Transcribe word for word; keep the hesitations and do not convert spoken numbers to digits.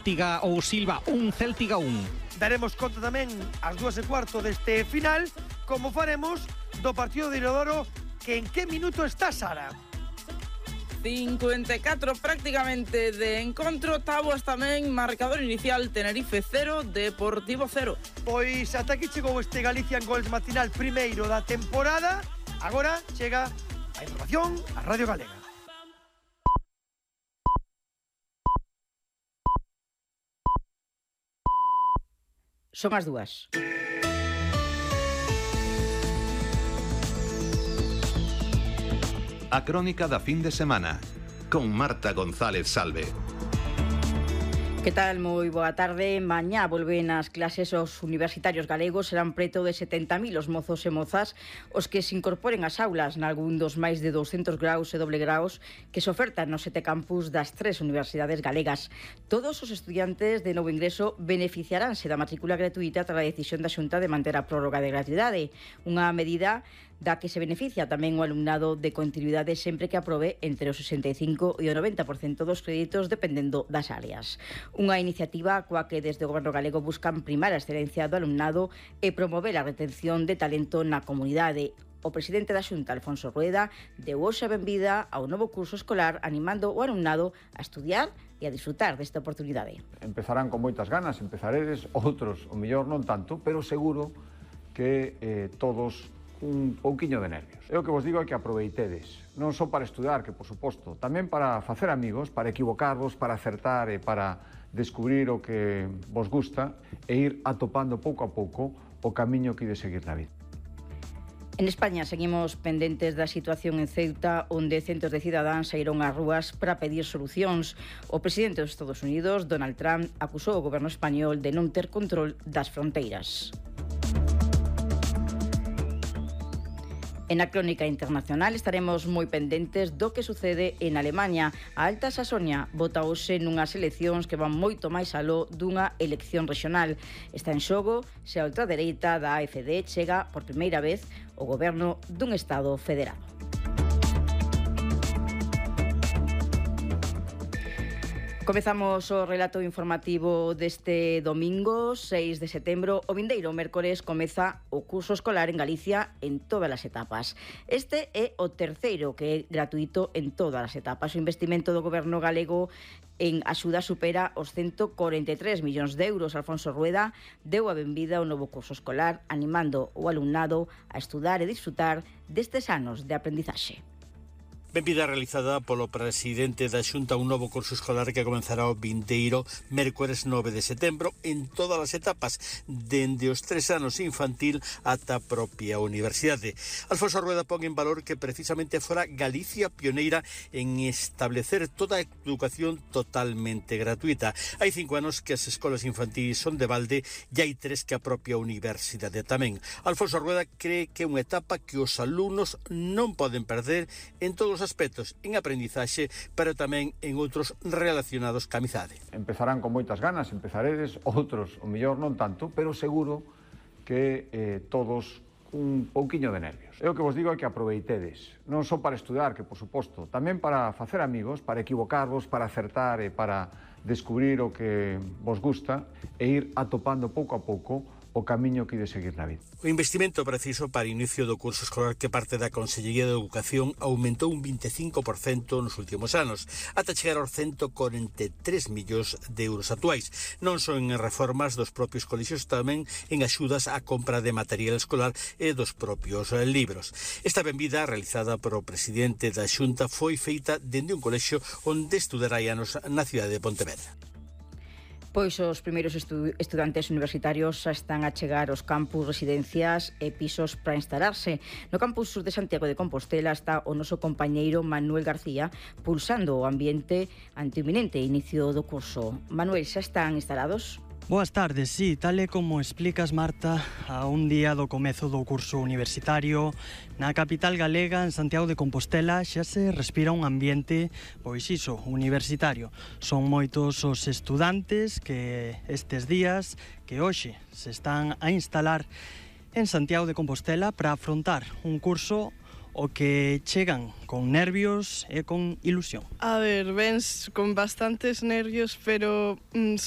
Céltiga ou Silva un, Céltiga un. Daremos conta tamén ás dúas e cuarto deste final, como faremos do partido de Inodoro, que en que minuto está, Sara? cincuenta e catro prácticamente de encontro. Táboas tamén, marcador inicial Tenerife cero, Deportivo cero. Pois ata aquí chegou este Galicia en Gols matinal primeiro da temporada. Agora chega a información a Radio Galega. Son as dúas. A crónica da fin de semana con Marta González Salve. Que tal? Moi boa tarde. Mañá volven as clases os universitarios galegos. Serán preto de setenta mil os mozos e mozas os que se incorporen ás aulas nalgún dos máis de douscentos graus e doble graus que se ofertan nos sete campus das tres universidades galegas. Todos os estudiantes de novo ingreso beneficiaránse da matrícula gratuita tras a decisión da Xunta de manter a prórroga de gratuidade. Unha medida da que se beneficia tamén o alumnado de continuidade sempre que aprobe entre o sesenta e cinco e o noventa por cento dos créditos dependendo das áreas. Unha iniciativa coa que desde o Goberno galego buscan primar a excelencia do alumnado e promover a retención de talento na comunidade. O presidente da Xunta, Alfonso Rueda, deu hoxe a benvida ao novo curso escolar animando o alumnado a estudiar e a disfrutar desta oportunidade. Empezarán con moitas ganas, empezaredes, outros o mellor non tanto, pero seguro que eh, todos un pouquiño de nervios. É o que vos digo é que aproveitedes, non só para estudar, que por suposto, tamén para facer amigos, para equivocarvos, para acertar e para descubrir o que vos gusta e ir atopando pouco a pouco o camiño que ide seguir na vida. En España seguimos pendentes da situación en Ceuta, onde centos de cidadáns saíron ás rúas para pedir solucións. O presidente dos Estados Unidos, Donald Trump, acusou o goberno español de non ter control das fronteiras. En a crónica internacional estaremos moi pendentes do que sucede en Alemaña. A Alta Sasonia vota hoxe nunhas eleccións que van moito máis aló dunha elección rexional. Está en xogo se a ultradereita da A F D chega por primeira vez ao goberno dun Estado federado. Comezamos o relato informativo deste domingo, seis de setembro. O vindeiro mércores comeza o curso escolar en Galicia en todas as etapas. Este é o terceiro que é gratuito en todas as etapas. O investimento do goberno galego en axuda supera os ciento corenta e tres millóns de euros. Alfonso Rueda deu a benvida ao novo curso escolar, animando o alumnado a estudar e disfrutar destes anos de aprendizaxe. Benvida realizada polo presidente da Xunta un novo curso escolar que comenzará o vindeiro mércores nove de setembro en todas as etapas, dende os tres anos infantil ata a propia universidade. Alfonso Rueda pon en valor que precisamente fora Galicia pioneira en establecer toda a educación totalmente gratuita. Hai cinco anos que as escolas infantís son de balde e hai tres que a propia universidade tamén. Alfonso Rueda cree que é unha etapa que os alumnos non poden perder en todos os aspectos, en aprendizaxe, pero tamén en outros relacionados ca amizade. Empezarán con moitas ganas, empezaredes, outros o mellor non tanto, pero seguro que eh, todos un pouquiño de nervios. É o que vos digo é que aproveitedes, non só para estudar, que por suposto, tamén para facer amigos, para equivocarvos, para acertar e para descubrir o que vos gusta e ir atopando pouco a pouco o camiño que ide seguir na vida. O investimento preciso para o inicio do curso escolar que parte da Consellería de Educación aumentou un vinte e cinco por cento nos últimos anos, ata chegar aos ciento corenta e tres millóns de euros actuais. Non son en reformas dos propios colexios, tamén en axudas á compra de material escolar e dos propios libros. Esta benvida, realizada por o presidente da Xunta, foi feita dende un colexio onde estudará anos na cidade de Pontevedra. Pois os primeiros estu estudantes universitarios xa están a chegar aos campus, residencias e pisos para instalarse. No campus sur de Santiago de Compostela está o noso compañeiro Manuel García pulsando o ambiente ante o inminente inicio do curso. Manuel, xa están instalados? Boas tardes, sí, tal e como explicas, Marta, a un día do comezo do curso universitario na capital galega, en Santiago de Compostela, xa se respira un ambiente, pois iso, universitario. Son moitos os estudantes que estes días, que hoxe se están a instalar en Santiago de Compostela para afrontar un curso o que chegan con nervios e con ilusión. A ver, vens con bastantes nervios, pero mm, sobre